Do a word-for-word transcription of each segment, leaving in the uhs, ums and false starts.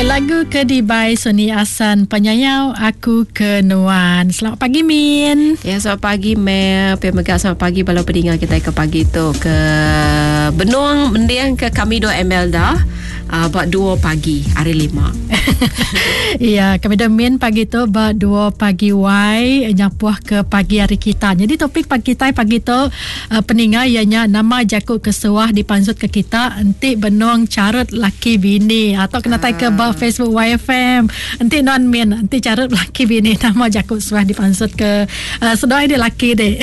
Ya, lagu ke dibai Sony Asan Penyayau Aku Ke Nuan. Selamat pagi Min. Ya, selamat pagi Mel. Pia mega selamat pagi bala peninga kita ke pagi tu ke Benung mendiang ke kami dua Emelda uh, buat dua pagi hari lima. Ya, kami dah Min pagi tu buat dua pagi Y nyapuh ke pagi hari kita. Jadi topik pagi kita pagi tu uh, peninga ianya nama jakuk kesuah dipansut ke kita enti benung carut laki bini atau kena tai ke Facebook Y F M. Enti non min enti carut laki bini nama jakuk suah dipansut ke uh, sedoi dia laki dek.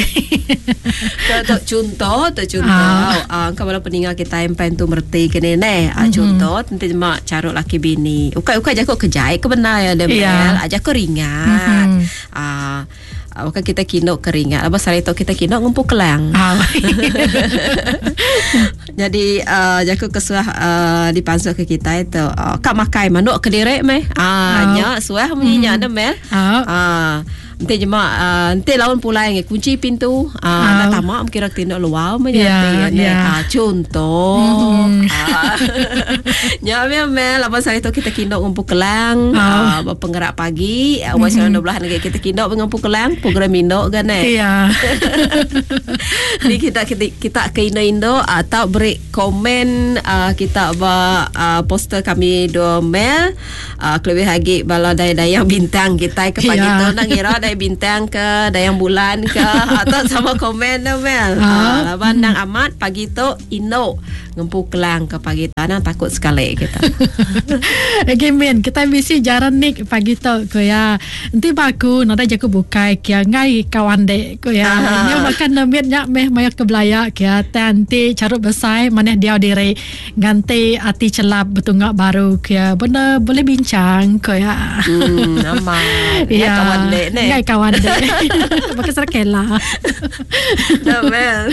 Tu contoh tu contoh. Ah uh, kalau peninga kita empen tu merti kene ne. Uh, contoh enti mak carut laki bini. Ukai-ukai jakuk kejai ke benar ya dia mel. Yeah. Jakuk ringat. Ah uh, bukan kita kinok keringat. Apa sari tu kita kinok ngumpul kelang. Ah. Jadi uh, jaku kesuah uh, dipansut ke kita itu uh, kak makai manuk ke direk meh. Ah nya suah munyi nya mel. Ah ente jema uh, ente lawan pulai nge kunci pintu ah uh, nak tamak kira tindak luar meh nya yeah, yeah. Ah, contoh mm-hmm. ah. Nya mel mel apa sari tu kita kinok ngumpul kelang ah uh, penggerak pagi uh, mm-hmm. dua belas lagi kita kinok ngumpul kelang program indok kan eh. Ya. Ni kita kita kita ke Indo-Indo atau beri komen uh, kita ba uh, poster kami dua mel uh, kelebih lagi bala dayang bintang kita ke pagi yeah. tu nak ngira dayang bintang ke dayang bulan ke atau sama komen dah mel. Ah, uh, laban nang amat pagi tu Indo ngempu kelang ke pagi tu nang takut sekali kita. Okey min kita misi jaran nik pagi tu ko ya. Enti baku nada jaku bukai kia ngai kawan dek ko ya. Nya makan nemit nya meh maya ke belaya kia tanti carut besai maneh dia diri ganti ati celap betungak baru kia benda boleh bincang ko ya. Hmm aman. Ya kawan dek ne. Ngai kawan dek. Pakai serakela. Dah mel.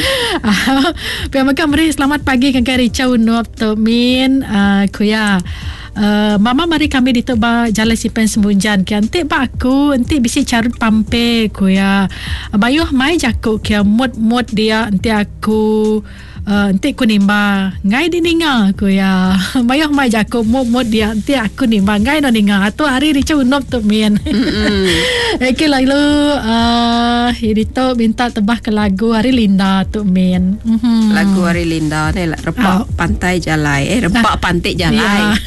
Pia maka meri selamat pagi kan Rica Unup tu min uh, kuya. Uh, mama mari kami di tu ba jalan simpen sembunjan kia enti ba aku enti bisi carut pampe kuya. Bayuh mai jakuk kia mut-mut dia enti aku Uh, enti ku nimba ngai di ninga ku ya. Bayuh mai jakuk mut-mut dia enti aku nimba ngai no ninga tu hari Rica Unup tu min. Okey lalu uh, ini tu minta tebah ke lagu hari Linda tu min. Mm-hmm. Lagu hari Linda ni repak oh. pantai jalai eh repak pantai jalai. Yeah.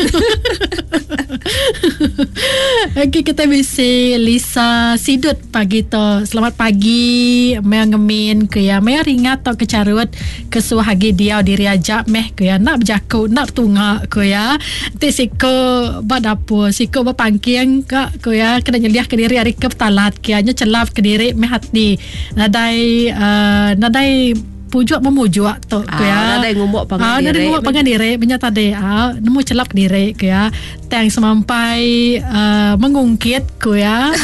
Okey kita bisi Lisa Sidut pagi tu. Selamat pagi meh ngemin ke ya. Meh ringat tau kecarut kesuah hagi dia diri ajak meh ke ya nak berjakuk nak tungak ke ya. Enti siko ba dapur siko ba pangking ka ke ya kena nyeliah ke diri hari ke talat ke nya celap ke diri meh hati. Nadai uh, nadai pujuk memujuk tu ke ya. Nadai ngumuk pangan ah, diri. Nadai ngumuk pangan diri benya tadi ah nemu celap diri ke ya. Tang semampai uh, mengungkit ke ya.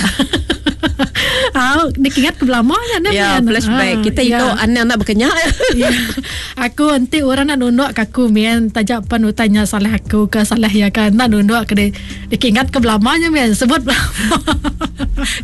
Ah, dikingat ke belamanya ne. Ya, flashback. Ah, kita ya. Itu anak nak berkenyak. Ya. Aku nanti orang nak nunduk ke aku mian tajak penutanya salah aku ke salah ya kan nak nunduk ke dia dikingat ke belamanya mian sebut belama.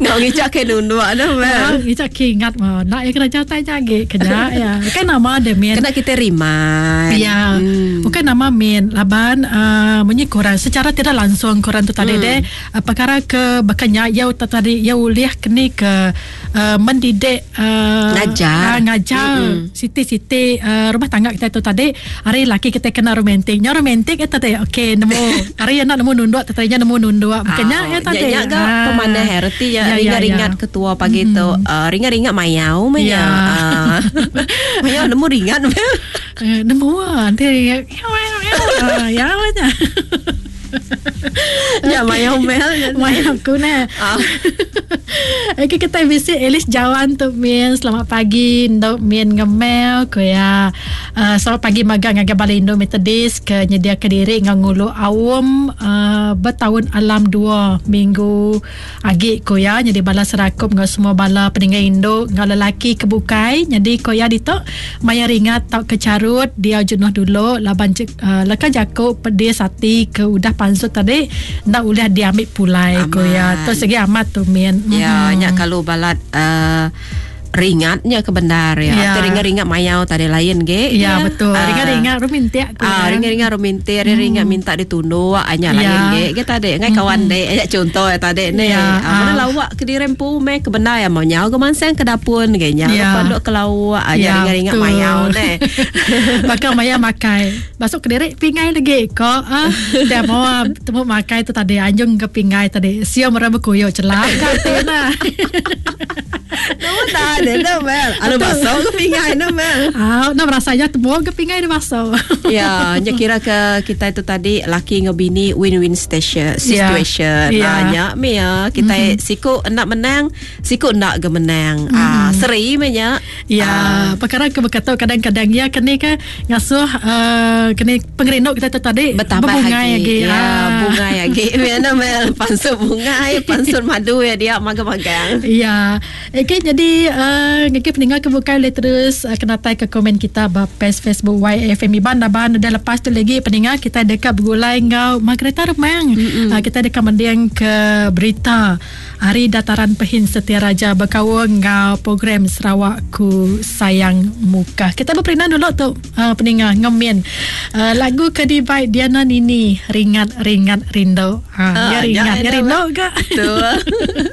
Ngau ngicak ke nunduk dah mel. Ngicak ke ingat mah. Nak ya kena jauh jage kena ya. Kan nama dia mian. Kena kita remind. Ya. Hmm. Bukan nama mian laban uh, munyi korang secara tidak langsung korang tu tadi hmm. deh uh, perkara ke berkenyak ya tadi ya uliah kini ke uh, mendidik uh, ngajar uh, ngajar mm-hmm. siti-siti uh, rumah tangga kita tu tadi hari laki kita kena romantik nya romantik itu tadi okey nemu hari nak nemu nunduk tadinya nemu nunduk bukannya oh, ya tadi nya ga ah. pemanah reti ya ringat-ringat ya, ya. Ketua pagi mm-hmm. tu uh, ringat-ringat mayau menya ya. uh. Mayau nemu ringat nemu nanti ringat ya ya Ya mayau mel mayau aku nah. Okey kita visit Elis Jawan tu min. Selamat pagi ndok min ngemel ko ya. Uh, selamat pagi magang ngagai Balai Indo Methodist ke nyedia ke diri ngau ngulu awam uh, bertahun alam dua minggu agi ko ya jadi bala serakup ngau semua bala peninggal Indo ngau lelaki kebukai jadi ko ya ditok maya ringat tau kecarut dia jenuh dulu laban uh, leka jakuk pedis hati ke udah pansut tadi nak ulah diambil pulai ko ya tu segi amat tu min. Ya mm-hmm. nyak kalau balat uh, Ringatnya ke bendar ya. Ya. Atau ringat-ringat mayau tadi lain ge. Ya, betul. Ah. Ringat-ringat rumintik ku. Ah, ringat-ringat rumintik, hmm. ringat minta ditunduk, anya Ya. lain ge. Ge tadi ngai kawan dek, anya contoh ya tadi ni. Ya, Ah, mana ah. lawak ke dirempu me ke bendar ya mau nyau ke mansang ke dapur ge nyau Ya. ke panduk ke lawak, anya Ya, ringat-ringat betul. mayau ne. Bakal maya makai. Masuk ke direk pingai lagi ko. Ah, dia mau temu makai tu tadi anjung ke pingai tadi. Siam orang berkuyuk celak kat nah. Nama tak ada dah Mel. Ada basuh ke pingai dah Mel. Ah, nak rasanya temu ke pingai dia masuk. Ya, nya kira ke kita itu tadi laki dengan bini win-win station situation. Ya. Yeah. Ah, nya me ya kita mm-hmm. siku nak menang, siku nak ke menang. Mm-hmm. Ah, seri me nya. Ya, Ah. perkara ke berkata kadang-kadang ya kene ke ngasuh uh, kene pengerinduk kita tu tadi Bertambah berbungai lagi. lagi. Ya, Ah. bungai lagi. Mana Mel pansut bungai, pansut madu ya dia magang-magang. Ya. Okey, jadi uh, ngeki pendengar ke bukai boleh terus uh, kena tai ke komen kita ba page Facebook Y F M Iban Daban dah lepas tu lagi pendengar kita dekat bergulai ngau Margareta Remang. Uh, kita dekat mendiang ke berita Hari Dataran Pehin Setia Raja berkawal ngau program Sarawak Ku Sayang Muka. Kita berperinan dulu tu uh, pendengar ngemin uh, lagu ke di baik Diana Nini Ringat Ringat Rindu. Ha, Ah, ya ringat, ya, ya rindu ke? Betul.